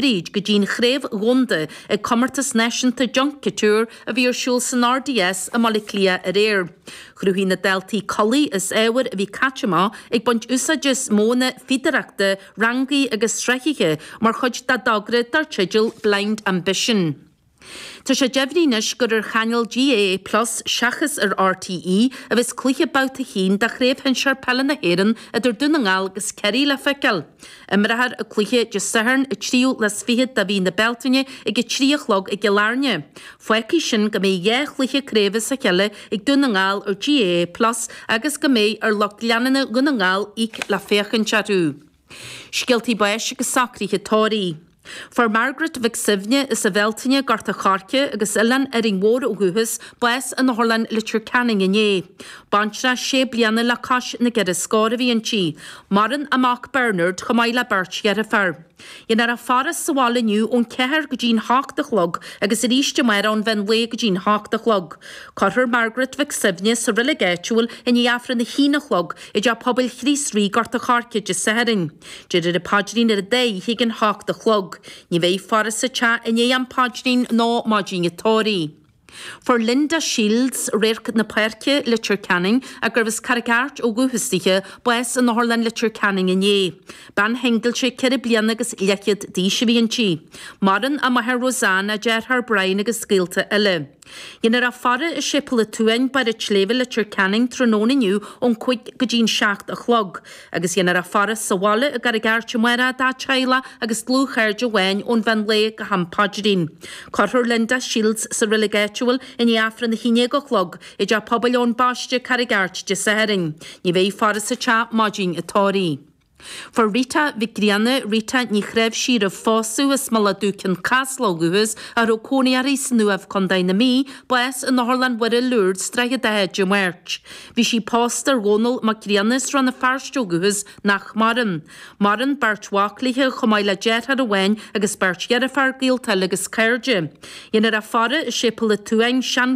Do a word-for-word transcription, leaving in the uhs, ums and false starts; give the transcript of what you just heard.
fríd go dtí'n chraobh dhomhanda ag comórtas náisiúnta Junk Kouture a bhí ar siúl san RDS i mBaile Átha Cliath aréir. Chruthaigh na daltaí culaith as ábhair a bhí caite amach ag baint úsáide as modhanna fíodóireachta, rangaí agus srathaithe mar chuid dá dtogra dar teideal Blind Ambition. Tá sé deimhnithe anois gur ar chainéal GAA Plus seachas ar RTÉ a bheas cluiche babhta a haon de Chraobh Shinsir Peile na hÉireann idir Dún na nGall agus Ciarraí le feiceáil. Imreofar an cluiche Dé Sathairn an tríú lá is fiche de mhí na Bealtaine ag a trí a chlog i gCill Airne. Fágfaidh sin go mbeidh dhá chluiche craoibhe as a chéile ag Dún na nGall ar GAA Plus agus go mbeidh ar lucht leanúna Dhún na nGall íoc le féachaint orthu. Scéaltaí báis agus socruithe tórraimh. Fuair Margaret Mhic Suibhne as an Bhealtaine Gort an Choirce agus Oileán Árainn Mhór ó dhúchas bás in Otharlann Leitir Ceanainn inné. Baintreach sé bliana le cois na gceithre scór a bhí inti. Maireann a mac Bernard chomh maith le beirt dheirfiúr. Dhéanfar a faire sa bhaile inniu ón ceathair go dtí'n hocht a chlog agus arís amárach ón mheán lae go dtí'n hocht a chlog. Cuirfear Margaret Mhic Suibhne sa reilig áitiúil i ndiaidh Aifreann a haon a chlog i dTeach Pobail Chríost Rí Gort an Choirce Dé Sathairn. Déarfar an paidrín ar an dá oíche ag an hocht a chlog. Ní bheidh faire sa teach i ndiaidh an phaidrín ná maidin an tórraimh. Fuair Linda Shields Radharc na Páirce Leitir Ceanainn gurbh as Carraig Airt ó dhúchas dithe bás in Otharlann Leitir Ceanainn inné. Bean shingilte ceithre bliana agus leathchéad d'aois a bhí inti. Maireann a máthair Rosanne, a deartháir Brian agus gaolta eile. Dhéanfar a faire i Séipéal an tSuain Barr an tSléibhe Leitir Ceanainn tráthnóna inniu ón cúig go dtí'n seacht a chlog, agus dhéanfar a faire sa bhaile i gCarraig Airt amárach dá teaghlach agus dlúthchairde amháin ón mheán lae go ham paidrín. Cuirfear Linda Shields sa reilig áitiúil i ndiaidh Aifreann a haon déag a chlog i dTeach Pobail Eoin Baiste Carraig Airt Dé Sathairn. Ní bheidh faire sa teach maidin an tórraimh. Fuair Rita Mhic Grianna Rita Ní Chreimhsí roimh phósadh as Mullach Dubh Cionn Caslach ó dhúchas a raibh cónaí uirthi san Uaimh Contae na Mí, bás in Otharlann Mhuire Lourdes Droichead Átha Dé Máirt. Bhí sí pósta ar Dhónall Mac Grianna as Rann na Feirste ó dhúchas nach maireann. Maireann beirt mhac léi chomh maith le deartháir amháin agus beirt dheirfiúr gaolta eile agus cairde. Dhéanfar a faire i Séipéal an tSuain sean